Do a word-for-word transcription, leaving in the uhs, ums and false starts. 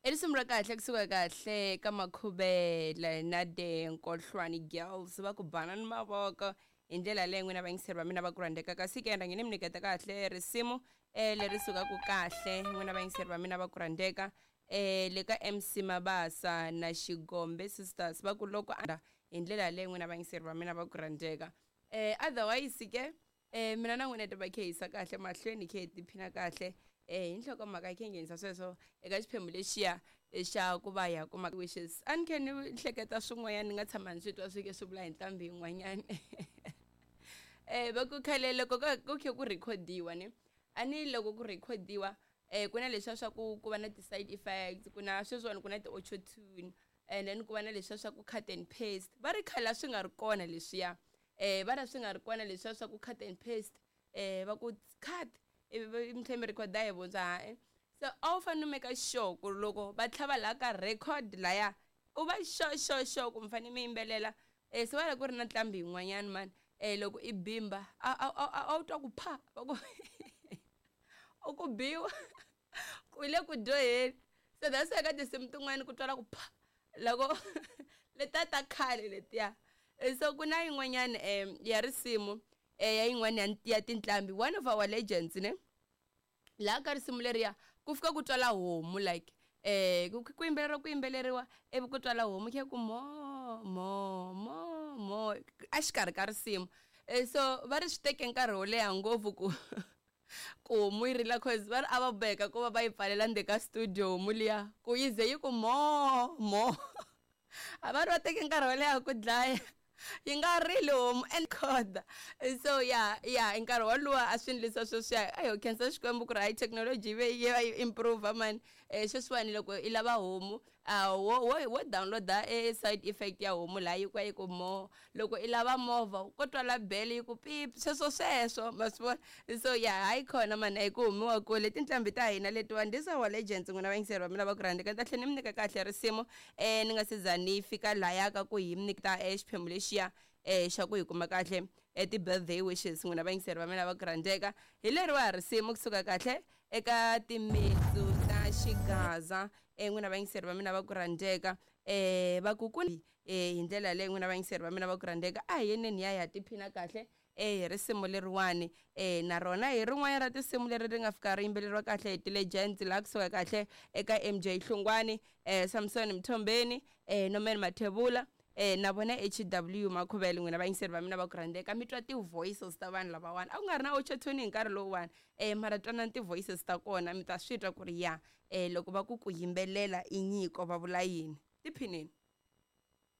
I risimu ra kahle kusuka kahle ka Makhuvele na the Nkohlwani Girls va ku banani mavoko hi ndlela leyi n'wina vayingiseri va mina va ku rhandzeka kasi ke rhange ni mi nyiketa kahle risimu eh leri sukaka kahle n'wina vayingiseri va mina va ku rhandzeka eh le ka M C Mabasa na Xigombe Sisters va ku loko a hi ndlela leyi n'wina vayingiseri va mina va ku rhandzeka eh otherwise ke eh mina na n'wina ti va khehisa kahle mahlweni khe hi tiphina kahle eh hi nhlokomhaka yi khe nghenisa sweswo eka xiphemu lexiya xa ku va ya kuma wishes a ni khe ni hleketa swin'wanyana ni nga tshama ni swi twa swi ke swi vula hi nqambi yin'wanyana eh va ku khale loko ku khe ku recordiwa ne a ni loko ku recordiwa eh ku na leswiya swa ku ku va na ti-side effects ku na sweswiwani ku na ti-auto tune and then ku va na leswiya swa ku cut and paste va ri khale a swi nga ri kona leswiya eh va ri swi nga ri kona leswiya swa ku cut and paste eh va ku cut ivi mi tlhela mi rhekhoda hi vuntshwa ha so a wu fanele u make sure ku loko va tlhava laha ka record laya u va sure sure sure ku mi fanele mi yimbelela eh se va ri ku ri na nqambi yin'wanyana mani eh loko i bimba a a a wu twa ku pha va ku u ku biwa ku le ku dyoheni so that's why ka tinsimu tin'wani ku twala ku pha loko letiya ta khale letiya so ku na yin'wanyana um ya risimu eh ya yin'wana ya ya tinqambi one of our legends ne laha ka risimu leriya ku fika ku twala homu like eh ku ku yimbeleriwa ku yimbeleriwa ivi ku twala homu khe ku mo mo mo mo exikarhi ka risimu so va ri swi teke nkarhi wo leha ngopfu ku ku homu yi rila cause va ri a va boheka ku va va yi pfalela ndzeni ka studio homu liya ku yi ze yi ku mo mo a va ri va teke nkarhi wo leha ku dlaya yi nga rili homu and khoda so ya ya nkarhi woluwa a swi endlisa sweswiya a ho khensa Xikwembu ku ri hayi thekinoloji yi ve yi va yi improve mani um sweswiwani loko i lava homu a wo wo wo download-a e side effect ya homu laha yi ku yi ku mo loko i lava movha ko twala bele yi ku pip sweswo sweswo ma swi vona so ya hayi khona mani a hi ku humiwa kule tinqambi ta hina letiwani these are our legends n'wina vayingiseri va mina va ku rhandza ni ta tlhela ni mi nyika kahle risimu um ni nga se za ni fika laya ka ku hi mi nyika xiphemu lexiya eh xa ku hi kuma kahle eh, ti-birthday wishes n'wina vayingiseri va mina va ku rhandzeka hi leriwa risimu kusuka kahle eka timitsu ta xigaza eh n'wina vayingiseri va mina va ku rhandzeka eh va ku ku eh hi ndlela leyi n'wina vayingiseri va mina va ku rhandzeka a hi yeneni ya ya tiphina kahle eh hi risimu leriwani eh na rona hi rin'wana ra tinsimu leri ri nga fika ri yimbeleriwa kahle hi ti-legends laha kusuka kahle eka M J Hlungwani eh Samson Mthombeni eh Norman Mathebula eh na vona H W Makhuvele n'wina vayingiseri va mina va ku rhandzeka mi twa ti-voices ta vanhu lavawani a ku nga ri na auto-tune hi nkarhi lowuwani eh mara twanani ti-voices ta kona mi ta swi twa ku ri ya eh loko va ku ku yimbelela i nyiko va vula yini tiphinini.